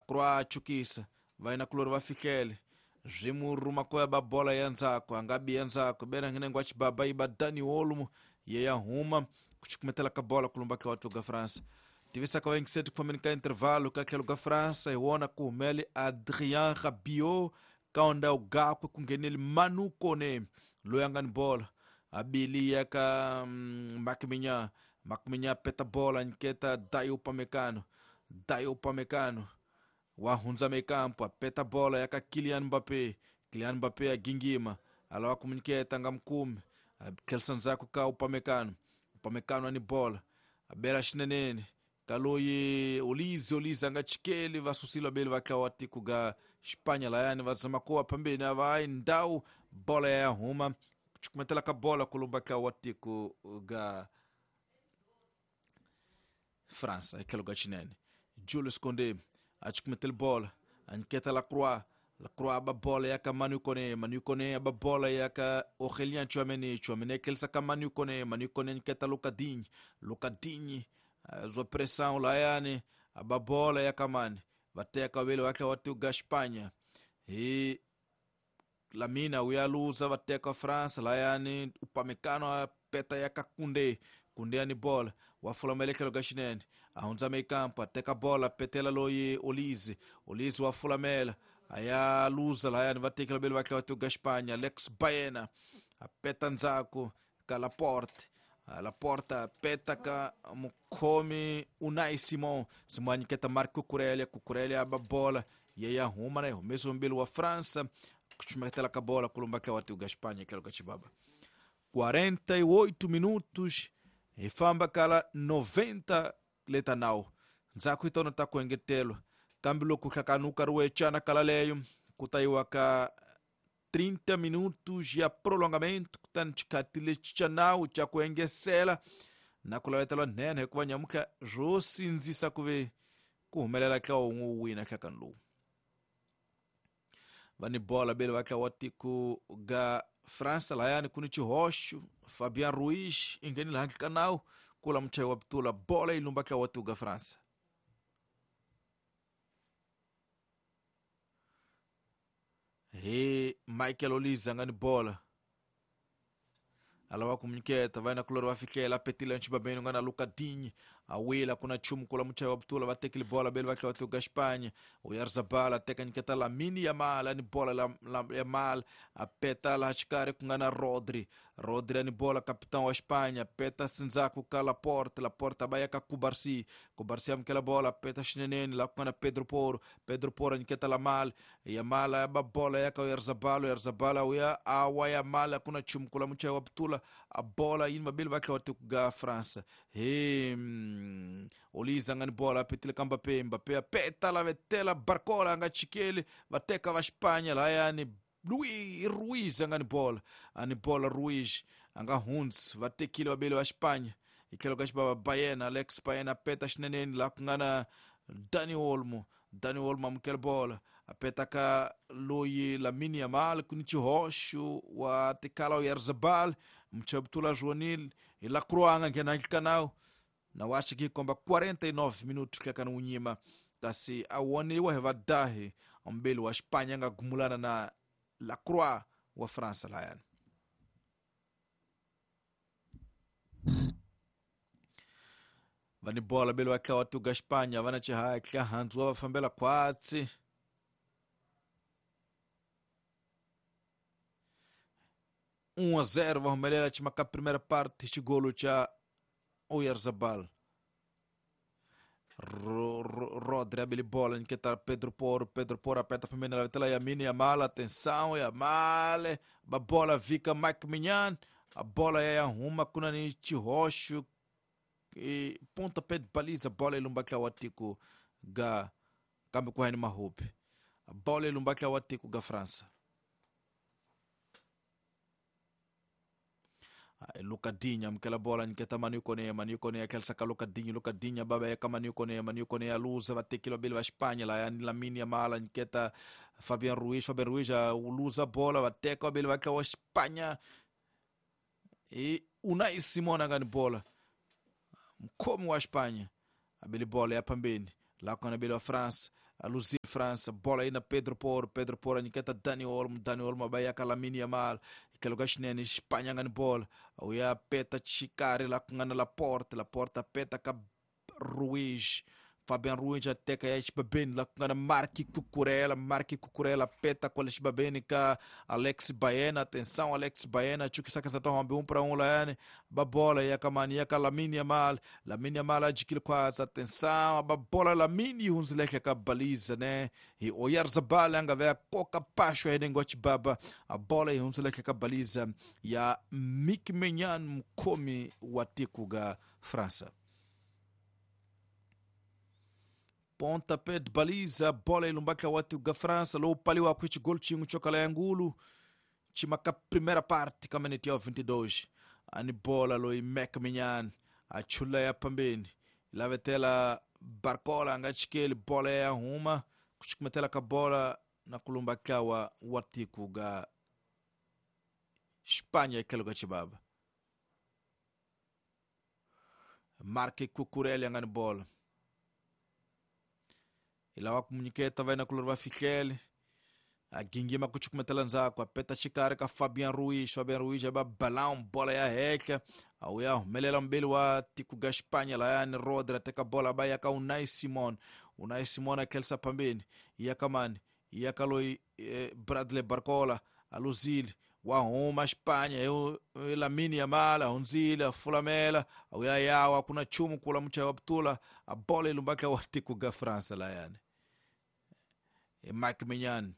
Lacroix chukisa vaina kulori va fihlele zvimuruma koya ba bola ya ndzhaku a nga bi ya ndzhaku bena ngenengwa chibaba iba Dani Olmo ye ya huma kuchukumetela ka bola kulumba ka watu ga França tivisa ka vaingiseti ku fambeni ka intervalo ka tlhelo ka França hi wona ku humele Adrien Rabiot ka ndhawu gakwe ku ngheneli Manu Kone loyi a nga ni bola abili ya ka Marc Maignan. Marc Maignan peta bola nyiketa Dayo Upamecano. Dayo Upamecano wa hundza mekampo apeta bola ya ka Kylian Mbappé. Kylian Mbappé a gingima alawa kumunyiketa nga mukumi atlhelisa ndzhaku ka Upamecano. Upamecano ani bola abela xineneni ka loyi Olise. Olise a nga chikeli va susile vabeli va tlawa tiko ga Espanha layani va zama ku wa phambeni a va yi ndhawu bola ya huma chukumetela ka bola kulumba tlawa tiko ga França hi tlhelo ka xinene Jules Koundé a chukumetela bola a nyiketa Lacroix. Lacroix aba bola ya ka Manu Kone. Manu Kone aba bola ya ka Aurélien Tchouaméni. Tchouaméni akelisa ka Manu Kone. Manu Kone nyiketa Lucas Digne. Lucas Digne zwa pressão layani aba bola ya ka mani va teka vele va tlhela va tiko Espanha hi Lamina uyaluza va teka France layani Upamecano a peta ya ka Koundé. Koundé ani bola wa fulamela tlhelo ka xinene a hundza mekampo a teka bola petela loyi Olise. Olise wa fulamela a ya luza layani va tekela vele va tlhela va tiko Espanha Alex Baena a peta ndzhaku ka Laporte. Laporte peta ka mukhomi Unai Simon. Simon a nyiketa Marc Cucurella. Cucurella aba bola ye ya huma na yi humesiwe mbili wa França kuchumetela ka bola kulumba tlawa tiko Espanha tlhelo ka xibaba 48 minutos hi famba kala 90 leta nawu ndzhaku hi tona ta ku engetelwa kambe loko hlakani wu karhi wu ecana kala leyo ku ta yiwa ka 30 minutos ya prolongamento kutani xikhathi lexi xa nawu xa ku engesela na ku lavetela nhenha hikuva nyamutlha swo sindzisa ku ve ku humelela tlawa wun'we wu wina hlakani lowu va ni bola bele va tlawa tiko ga França layani ku ni xihoxo Fabian Ruiz i nghenile handle ka nawu kula muchayi wa bitula bola yi lumba tlawa tiko ga França hi Michael Olise a nga ni bola alava ku nyiketa va yena kulori va fihlela petile nxibabeni nga na Lucas Digne a wila ku na nchumu kula muchayi wa butula va tekile bola bele va tlhela va tiko Espanha Oyarzabal a teka nyiketa Lamine Yamal ani bola Yamal a peta laha xikarhi ku nga na Rodri. Rodri ani bola capitão wa Espanha peta sindzhaku ka Laporte. Laporte a ba ya ka Cubarsí. Cubarsí amukela bola peta xineneni laha ku nga na Pedro Porro. Pedro Porro a nyiketa Lamal. Yamal a ba bola ya ka Oyarzabal. Oyarzabal a wuya awa Yamal ku na nchumu kula muchayi wa butula a bola yini vabeli va tlhela va tiko ga França hi Olise a nga ni bola a petile ka Mbappé. Mbappé a peta la vetela Barcola a nga chikeli va teka va Espanha layani Luis Ruiz a nga ni bola a ni bola Ruiz a nga hundzi va tekile vabeli va Espanha hi tlhelo ka xibaba Baena Alex Baena a peta xineneni laha ku nga na Dani Olmo. Dani Olmo amukela bola a peta ka loyi Lamine Yamal ku ni xihoxo wa tikala Oyarzabal muchabutula Joanil hi Lacroix a nga nghena handle ka nawu na wa xi komba 49 minutos hlekani wu nyima kasi a woniwa hi vadahi mbeli wa Espanha a nga gumulana na Lacroix wa França layani va ni bola beli va tlawa tuga Espanha va na xihatla handzu wa va fambela khwatsi 1-0 va humelela ximaka primeira parte xigolo xa Oyarzabal. Rodri abele bola nyiketa Pedro Porro. Pedro Porro aperta a primeira lateral Lamine Yamal, atenção Yamal, a bola fica Mike Maignan, a bola é arruma kunani Chirocho e pontapé de baliza, bola ilumba tiko ga kambe kuhani mahupi. A bola ilumba tiko ga França. Lucas Digne amukela bola nyiketa Manu Kone. Manu Kone akhelisa ka Lucas Digne. Lucas Digne baba ya ka Manu Kone. Manu Kone a luza va tekile vabeli va Espanha layani Lamine Yamal nyiketa Fabian Ruiz. Fabian Ruiz a luza bola va teka vabeli va tlawa Espanha e Unai Simon a nga ni bola mukhomi wa Espanha abeli bola ya phambeni laha ku nga na beli wa France Aluzil França, bola aí na Pedro Porro, Pedro Porro anyiketa Dani Olmo, Dani Olmo abayaka Lamine Yamal, tlhelo ka xinene Espanha nga ni bola, ya peta xikarhi la ku nga na Laporte, Laporte peta ka Ruiz, Fabian Ruiz ateka ya xibabeni la ku nga na Marc Cucurella, Marc Cucurella peta kwale xibabeni ka Alex Baena, atenção Alex Baena, chukisaka za tombe 1 para 1 layani, ba bola ya kamani ya ka Lamine Yamal, Lamine Yamal ajikile khwaza, atenção ba bola Lamine hunzileke ka baliza né, e Oyarzabal anga ve koka pasho henengo chibaba, a bola hunzileke ka baliza ya Mike Maignan mkomi wa tiku ga França. Pontapé de baliza, bola ilumbaka watu ga França, lo paliwa kuichi gol chingu chokala yangulu, chimaka primeira parte kameneti ya 22, ani bola lo Mike Maignan, achula ya pambeni, lavetela Barcola angachikeli bola ya huma, kuchikumetela ka bola na kulumbaka wa watiku ga Espanha ikelo ga chibaba. Marc Cucurella angani bola. Ilawa kumunyiketa vai na kulor va fihlele a gingima kuchukumetela ndzhaku a peta xikarhi ka Fabian Ruiz, Fabian Ruiz a ba balão bola ya hehla a wu ya humelela mbeli wa tiku ga Espanha layani Rodri a teka bola ba ya ka Unai Simon, Unai Simon a tlherisa phambeni ya ka mani ya ka loyi Bradley Barcola a luzile wa huma Espanha hi Lamine Yamal a hundzile a fulamela a wu ya yawa ku na nchumu kula muchayi wa putula a bola yi lumbaka wa tiku ga França layani. Mike Maignan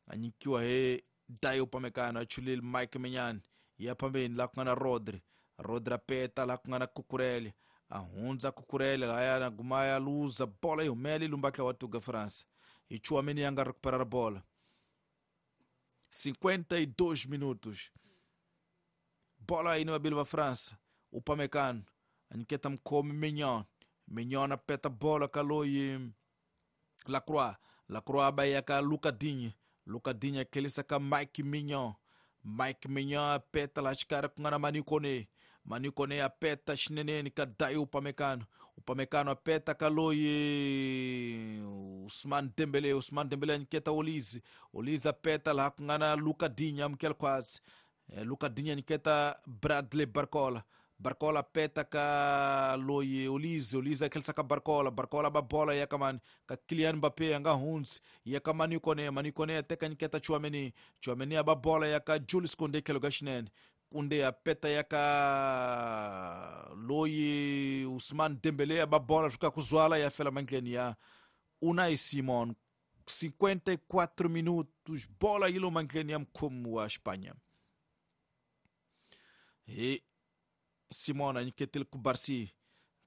anyikiwa he Dayo Upamecano achulile Mike Maignan ya pambeni la ku nga na Rodri, Rodri apeta la ku nga na Cucurella a hundza Cucurella laya guma ya luza bola yi humela yi lumbaka wa tiku ga França hi Tchouaméni ya nga recuperar bola. 52 minutos, bola aí no abilo da França, Upamecano anyiketa mkhomi Maignan, Maignan apeta bola kaloi Lacroix, Lacroix abaya ka Lucas Digne, Lucas Digne akelisa ka Mike Maignan, Mike Maignan apeta la xikara ku nga na Manu Koné, Manu Koné apeta xineneni ka Dayo Upamecano, Upamecano apeta ka loyi Ousmane Dembélé, Ousmane Dembélé anyiketa Olise, Olise apeta laha ku nga na Lucas Digne amukela khwatsi, Lucas Digne anyiketa Bradley Barcola, Barcola peta ka loyi Olise, Olise akelisa ka Barcola, Barcola ba bola ya kamani ka Kylian Mbappé anga hunzi ya ka Manu Koné, Manu Koné ateka nyiketa Tchouaméni, Tchouaméni aba bola ya ka Jules Koundé kelo ga xinene, Koundé apeta ya ka loyi Ousmane Dembélé aba bola fika kuzwala ya fela mangleni ya Unai Simon. 54 minutos, bola ilo mangleni ya mkhomi wa Espanha. E Simon anyiketile Cubarsí,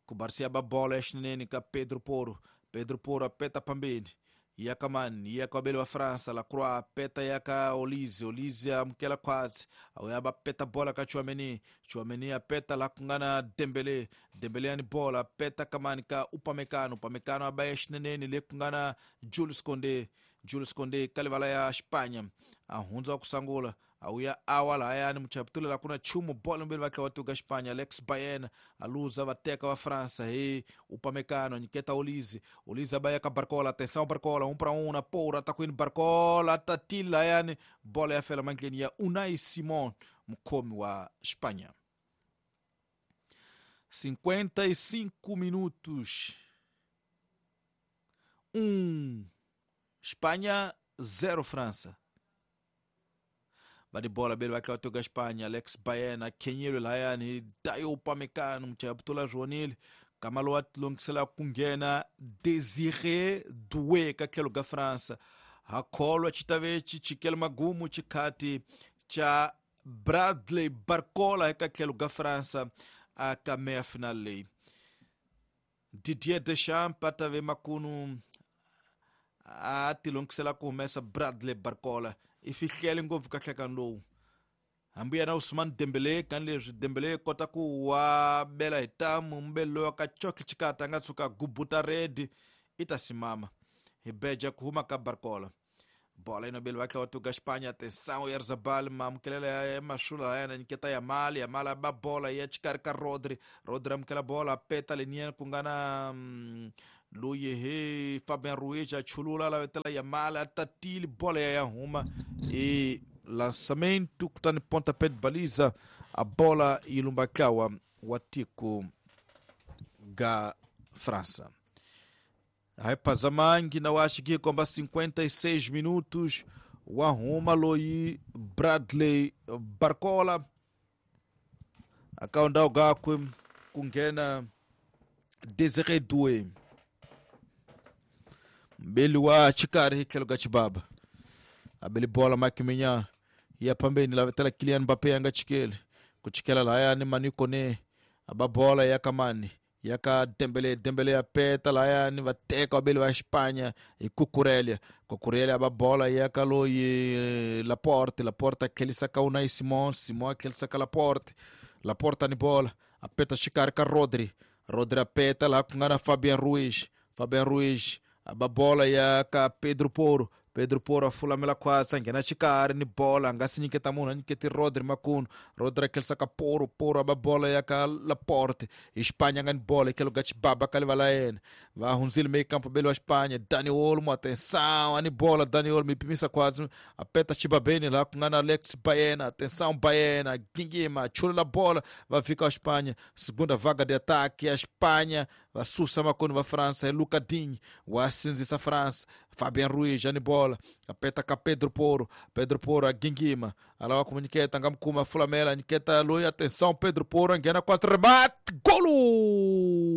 Cubarsí aba bola xinene ka Pedro Porro, Pedro Porro apeta pambeni ya ka mani ya ka abelo wa França, Lacroix apeta ya ka Olise, Olise amukela khwatsi ya ba peta bola ka Tchouaméni, Tchouaméni apeta la ku nga na Dembélé, Dembélé ani bola apeta kamani ka Upamecano, Upamecano abaya xineneni le ku nga na Jules Koundé, Jules Koundé ka livala ya Espanha a hundza ku sangula a wuya awa lahayani muchaputula la kuna chumu bola mbili vake watuga Espanha Alex Baena aluza vateka wa França he Upamecano anyiketa Olise, Olise abaya ka Barcola, atenção Barcola 1 para 1 na porra tá com Barcola tatila yani bola ya fela mangleni ya Unai Simon mkhomi wa Espanha. 55 minutos, 1 Espanha 0 França. Badi bola bele vai toga Espanha, Alex Baena, Kenyelo layani, Dayo Upamecano, mchayabutula Joanil, Kamalo atlongisela kungena Désiré Doué ka tlhelo ga França. Hakholwa chitavechi chikele magumu chikhati cha Bradley Barcola eka tlhelo ga França a ka meia final leyi. Didier Deschamps atave makunu a tilongisela ku humesa Bradley Barcola i fihlele ngopfu ka nhlekani lowu hambi yena Ousmane Dembélé kan leswi Dembélé kota ku wa bela hi tamu mbele loyi ka choki chikata nga tshuka gubuta red i ta simama hi beja ku huma ka Barcola. Bola inobele vakhe watuga Espanha, atenção Oyarzabal mamukelela ya mashula yana nyiketa Yamal, Yamal aba bola ya xikarhi ka Rodri, Rodri amukela bola peta leniya ku nga na Loyi he Fabian Ruiz a chulula lavetela Yamal a tatile bola ya huma e lançamento kutani pontapé de baliza a bola yi lumbakawa wa tiko ga França. Aí na acho komba 56 minutos wa huma loyi Bradley Barcola akaunda gakwe ku nghena Desiré Doué mbeli wa xikarhi hi tlhelo ka xibaba abeli bola Mike Maignan ya phambeni lavetela Kylian Mbappé a nga chikeli ku chikela lahayani Manu Kone aba bola ya kamani ya ka Dembele. Dembele ya peta lahayani va teka vabeli va Espanha hi Cucurella. Cucurella aba bola ya ka loyi Laporte. Laporte a tlhelisa ka Unai Simon. Simon a tlhelisa ka Laporte. Laporte ni bola a peta xikarhi ka Rodri. Rodri a peta laha ku nga na Fabian Ruiz. Fabian Ruiz aba bola ya ka Pedro Porro. Pedro Porro a fulamela khwatsi a nghena xikarhi ni bola a nga si nyiketa munhu a nyiketi Rodri makunu. Rodri a tlhelisa ka Porro. Porro aba bola ya ka Laporte. Espanha nga ni bola hi tlhelo ka xibaba ka liva la yena va hundzile meio campo beli wa Espanha. Dani Olmo, atenção, ani bola Dani Olmo pimisa khwatsi a peta xibabeni laha ku nga na Alex Baena. Atenção Baena, gingima chulula bola va fika wa Espanha. Segunda vaga de ataque a Espanha va susa makoni va França. É Luca Digne wa sindzisa França. Fabian Ruiz ani bola apeta ka Pedro Porro. Pedro Porro a gingima alawa kumunyiketa nga mukuma fulamela nyiketa loyi. Atenção Pedro Porro nghena quatro, remate, golo!